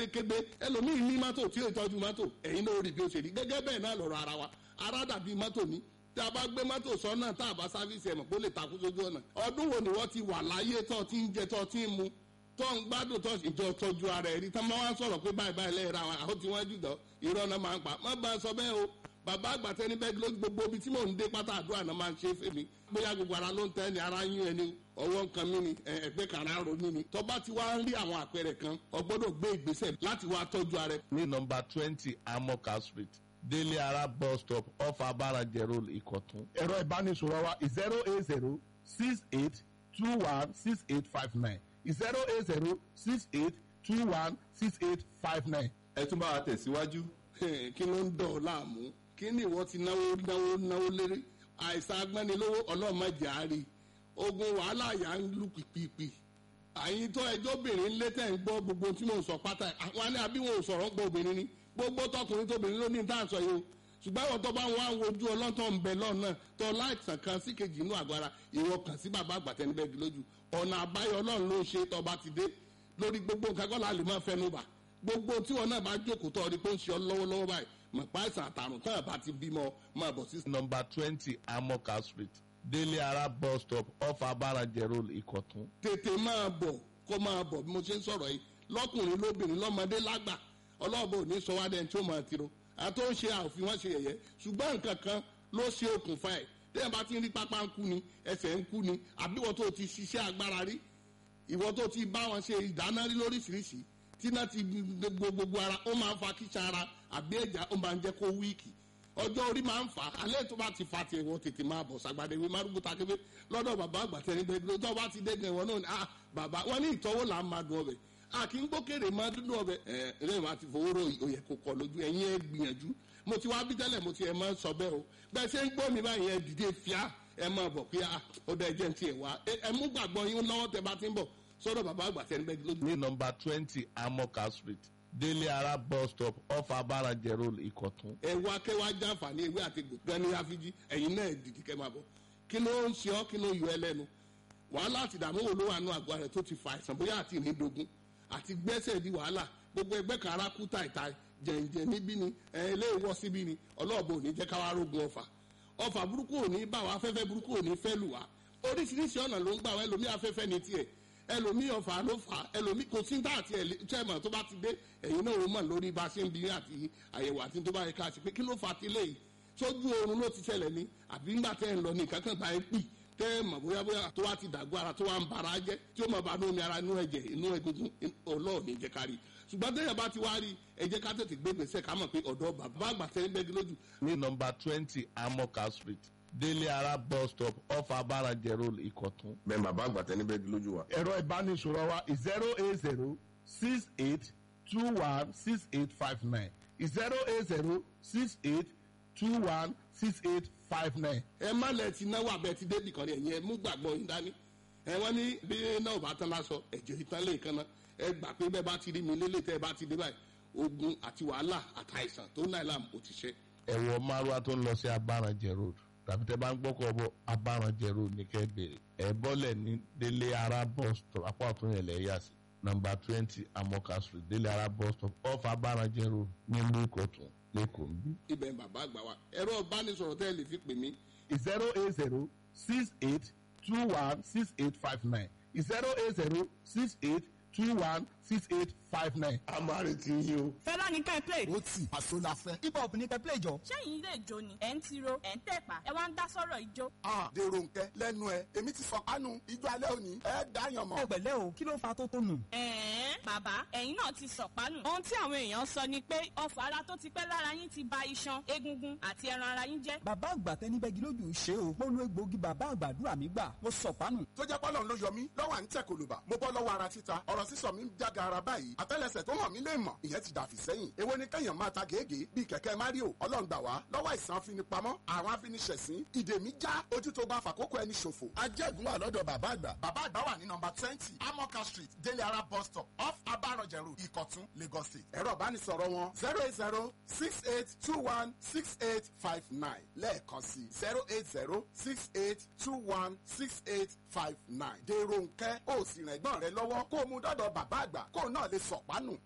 Kébékébé ẹlòmíì ní mọ́tò tí ó tọ́jú mọ́tò, ẹ̀yin ló rí bí ó ṣe rí. Gẹ́gẹ́ bẹ́ẹ̀ náà lọ̀rọ̀ ara wa, ara dàbí mọ́tò ní. Tí a bá gbé mọ́tò sọ́nà, tá a bá sáfíìsì, ẹ̀mọ̀ kó lè takú sójú ọ̀nà. Ọdún wo ni wọ́n ti wà láyé tó ti ń jẹ, tó ti ń mu, tó ń gbádùn, tó ìjọ tọ́jú ara ẹ̀ rí tán, máa wá sọ̀rọ̀ pé báyìí báyìí lẹ́yìn ra wọn, àwọn tí wọ́n jù dọ̀, irọ́ náà máa ń pa. Má bá a sọ bẹ́ẹ̀ o. Bàbá àgbàtẹ́ níbẹ̀ ló gbogbo ibi tí mò ń dé pátá, àdúrà náà máa ń ṣe é fèmí. Bóyá gbogbo ara ló ń tẹ́ ni, ara yún ẹni, ọwọ́ nǹkan mi ni, ẹgbẹ́ kan ara ro mi ni. Tó bá ti wá ń rí àwọn àpẹẹrẹ kan, o gbọ́dọ̀ gbé ìgbésẹ̀ láti wá tọ́jú ara ẹ. Ní nọ́mbà 20 Amoka Street, Délé Ara bus stop, off Abarajẹ Road, Ìkọ̀tún. Ẹ̀rọ ìbánisọ̀rọ̀ wa 08068216859, 08068216859. Ẹ tún bá wa tẹ̀síwájú. Kí ló ń dọ̀ ọ́ láàmú? Kí ni ìwọ ti náwó náwó náwó lérí? Àìsàn agbẹ́nilówó, ọlọ́mọdé àárí ogun wàhálà yà ń lù pìpìpì. Àyìn tó ẹjọ́ obìnrin ń lé tẹ̀ ń gbọ́ gbogbo tí mò ń sọ pátá, àwọn ní àbí wọn ò sọ̀rọ̀ ń gbọ́ obìnrin ni. Gbogbo tọkùnrin tóbìnrin ló ní tá à ń sọ yìí o. Ṣùgbọ́n àwọn tó bá ń wá wojú ọlọ́tọ̀ ń bẹ lọ́nà tó láìsàn kan sí kejì inú àgọ́ ara, ìwọ kàn sí bàbá àgbàtẹ́nibẹ́gi lójú. Ọ̀nà àbáyọ Ọlọ́run ló ń ṣe. Tọba ti dé lórí gbogbo nǹkan kọ́ la lè máa fẹnu bà. Gbogbo tí wọn náà bá jókòó tọ́ ọ ní pé ó ń ṣe ọ lọ́wọ́lọ́wọ́ báyìí, mọ̀ páìsàn àtàrùn tán àbá ti bímọ, máa bọ̀ sí. Nọ́mbà 20 Amoka Street, Délé Ara bus stop, off Abarajẹ Road, Ìkọ̀tún. Tètè máa bọ̀, kó máa bọ̀ bí mo ṣe ń sọ̀rọ̀ yìí, lọ́kùnrin, lóbìnrin, lọ́mọdé, lágbà. Ọlọ́ọ̀bọ ò ní sọ wá dẹni tí ó máa tiro àti ó ń ṣe àòfin wọn ṣe yẹ̀yẹ́. Ṣùgbọ́n nǹkan kan ló ṣe okùnfà ẹ̀. Téèyàn bá ti ń rí pápá ń kú ni, ẹsẹ̀ ń kú ni, àbí ìwọ tó ti ṣiṣẹ́ agbára rí, ìwọ tó ti bá wọn ṣe ìdáná rí lóríṣiríṣi, tíná ti gbogbo gbogbo ara, ó máa ń fa kíṣà ara àbí ẹ̀já, ó máa ń jẹ́ kó weak. Ọjọ́ orí máa ń fà á. Alẹ́ tó bá ti fa tiẹ̀, wọ́n tètè máa bọ̀ sàgbàdé ìwé márùkù takébé lọ́dọ̀ bàbá àgbàtẹ́ níbẹ̀. Tó bá ti dé gan, ìwọ náà ni, ah, bàbá wọn ní ìtọ́wò là ń máa dùn ọbẹ̀, a kì í gbókèrè máa dúdú ọbẹ̀ ẹ lẹ́yìn wá ti fowó rò òyẹ kò kọ lójú ẹ̀yin. Ẹ gbìyànjú, mo ti wá bí tẹ́lẹ̀, mo ti ẹ̀ máa ń sọ bẹ́ẹ̀ o. Bẹ́ẹ̀ ṣe ń gbọ́ mi báyìí, ẹ dìde fíà, ẹ máa bọ̀ pé ah, ó dá ẹjẹ́ ti ẹ̀ wá. Ẹ mú gbàgbọ́ yín lọ́wọ́ tẹ bá ti ń bọ̀ sọ́dọ̀ bàbá àgbàtẹ́ níbẹ̀ lójú. Ní nọ́mbà 20 Amoka Street, Délé Ara bus stop, off Abarajẹ Road, Ìkọ̀tún. Ẹ wá kẹwàá jàǹfààní ewé àti gbọ̀ngàn ní àfijì. Ẹ̀yin náà dìde kẹ́ máa bọ̀. Kí ló ń ṣe ọ́? Kí ló yọ ẹ lẹ́nu? Wàhálà àti ìdààmú wo ló wà nù àgọ́ rẹ̀ tó ti fa àìsàn, bóyá àti ìrìndògún àti gbẹ́sẹ̀ di wàhálà, gbogbo ẹgbẹ́ kan ara kú tàìtàì, jẹ̀ǹjẹ̀ níbí ni, ẹ eléwọ́ síbí ni? Ọlọ́ọ̀bọ ò ní jẹ́ káwá rógun ọ̀fà. Ọ̀fà burúkú ò ní bá wa, afẹ́fẹ́ burúkú ò ní fẹ́ lù wá. Oríṣiríṣi ọ̀nà ló ń gbà wá. Ẹlòmí afẹ́fẹ́ ní tiẹ̀, ẹlòmí ọ̀fà ló fà á, ẹlòmí kò sí tá àti ẹ̀lẹ́mọ̀. Tó bá ti dé, ẹ̀yin náà ó mọ̀ lórí bá a ṣe ń bi àti àyẹ̀wò àti tó bá yẹ ká ṣe pé kí ló fà á tilé yìí. Sójú oorun ló ti ṣẹlẹ̀ ni, àbí ńgbà tẹ́ ń lọ ní kankan bá ẹ pì tẹ́ ẹ mọ̀ bóyá bóyá tó wá ti dàgbọ́ ara, tó wá ń bara jẹ́, tí ó mọ̀ bá inú omi ara, inú ẹ̀jẹ̀, inú egungun, Ọlọ́run ní jẹ́ ká rí. Ṣùgbọ́n tẹ́yẹ̀ bá ti wá rí, ẹ jẹ́ ká tètè gbé gbèsè, ká mọ̀ pé ọ̀dọ́ bàbá àgbà tẹ́ ń bẹ́gi lójú. Ní nọ́mbà 20 Amoka Street, Délé Ara bus stop, off Abarajẹ Road, Ìkọ̀tún. Bẹ́ẹ̀ bàbá àgbàtẹ́ níbẹ̀ lójú wa. Ẹ̀rọ ìbánisọ̀rọ̀ wa 08068216859, 08068216859. Ẹ má lẹ ti náwó abẹ ti débì kan ní. Ẹ̀yin ẹ mú gbàgbọ́ yín dání. Ẹ wọ́n ní bí náà bá tán lásọ, ẹ̀jẹ̀ ìtàn lè kan náà. Ẹ gbà pé bẹ́ẹ̀ bá ti rí mi lélẹ̀, tẹ́ ẹ bá ti dé báyìí, ogun àti wàhálà àtàìsàn tó náà làm ó ti ṣe. Ẹ wọ márùwá tó ń lọ sí Abarajẹ Road, tàbí tẹ bá ń gbọ́kọ̀ bọ̀, Abarajẹ Road ní kẹ́ bèrè. Ẹ bọ́lẹ̀ ní Délé Ara bus stop, apá ọ̀tún yẹn lẹ̀ yà sí. Nọ́mbà 20 Amoka Street, Délé Ara bus stop, off Abarajẹ Road, nílùú Ìkọ̀tún, lẹ́kọ̀ọ́ ń bí. Ibẹ̀ ń bàbá àgbà wa. Ẹ̀rọ ìbánisọ̀rọ̀ tẹ́ ẹ lè fi pè mí 08068216859, 08068216859. A máa retí yín o. Fẹlá ní ká ẹ play. Ó tì àṣọ la fẹ́. Hip hop ní ká ẹ play jọ. Ṣẹ́yìn ilé ìjó ni ẹ̀ ń tiro, ẹ̀ ń tẹ̀pá, ẹ wá ń dá sọ̀rọ̀ ijó? Ah, dèrò nkẹ lẹ́nu ẹ, èmi ti sọ kánú ijó alẹ́ òní, ẹ dáyàn mọ́. Ẹ pẹ̀lẹ́ o, kí ló fa tó tó nù? Ẹ̀ẹ́n, bàbá, ẹ̀yin náà ti sọ̀pánù. Ohun tí àwọn èèyàn sọ ni pé ọfà ara tó ti pẹ́ lára yín ti ba iṣan, egungun àti ẹran ara yín jẹ́. Bàbá àgbà tẹni bẹ́gi lójú ṣe o. Mo lu egbòogi bàbá àgbàdúrà mi gbà, mo sọ̀pánù. Tó jẹ́ pọ́lọ́n ló yọ mí lọ́wọ́ à ń tẹ̀ kòlùbà, mo bọ́ lọ́wọ́ ara títa, ọ̀rọ̀ sísọ mi ń jága ara báyìí, àtẹ́lẹsẹ̀ tó hàn mí lè mọ̀, ìyẹn ti dàfí sẹ́yìn. Èwo ni kẹ́yàn máa ta gègé bíi kẹ̀kẹ́ Mario? Ọlọ́run gbà wá lọ́wọ́ àìsàn afinipamọ́, àwọn afiniṣẹ̀sín, ìdè mi já, ojú tó bá fàkókò ẹni ṣòfò. Ajẹ́gun wà lọ́dọ̀ bàbá àgbà. Bàbá àgbà wà ní nọ́mbà 20 Amoka Street, Délé Ara bus stop, off Abarọ̀jẹ̀ Road, Ìkọ̀tún, Lagos State. Ẹ̀rọ ìbánisọ̀rọ̀ wọn 08068216859, lẹ́ẹ̀kan sí 08068216859. Dèrò nkẹ́, ó sì rìn ẹ̀gbọ́n rẹ lọ́wọ́ kó o mú dọ́dọ̀ bàbá àgbà kó o náà lè sọ̀pánù.